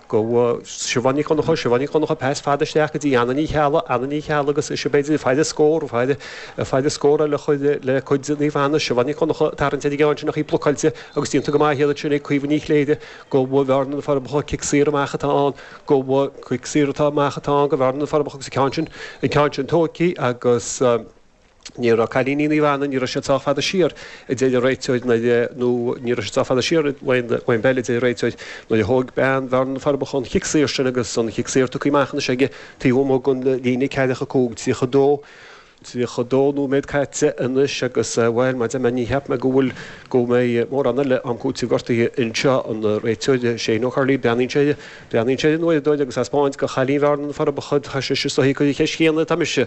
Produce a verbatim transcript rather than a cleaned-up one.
Go Siobhán Ní Chonchúir, Siobhán Ní Chonchúir, pas fada isteach go dtí Anna Ní Cheallaigh, Anna Ní Cheallaigh agus is b'fhéidir faighte scór, faighte faighte scór eile chuid le cuid Naomh Anna, Siobhán Ní Chonchúir tarraingt ar an gceann sin ach í blocáilte agus déanta go maith iad sin ag Caoimhe Ní Chléire go Bhearna na Forbacha cic saor amach atá ann go cic saor atá amach atá ann go Bhearna na Forbacha agus an ceann sin an ceann sin tógtha agus ní raibh cailíní Naomh Anna ní raibh siad sách fada siar a deir an réiteoir nó ní raibh siad sách fada siar ón bpeil a deir an réiteoir nuair a thóg bean Bhearna na Forbacha an chic saor sin agus an chic saor tugtha amach anois aige taobh amuigh den líne ceathracha cúig tríocha dó tríocha dó nóiméad caite anois agus bhuel mar deir mé ní cheap mé go bhfuil go mbeidh mórán eile am cúitimh gortaithe anseo an réiteoir Shane Ó Curley breathnaíonn sé breathnaíonn sé an uaireadóir agus taispeáint go chailín Bhearna na Forbacha tá sé is dóigh chuid cheist chéanna tá mise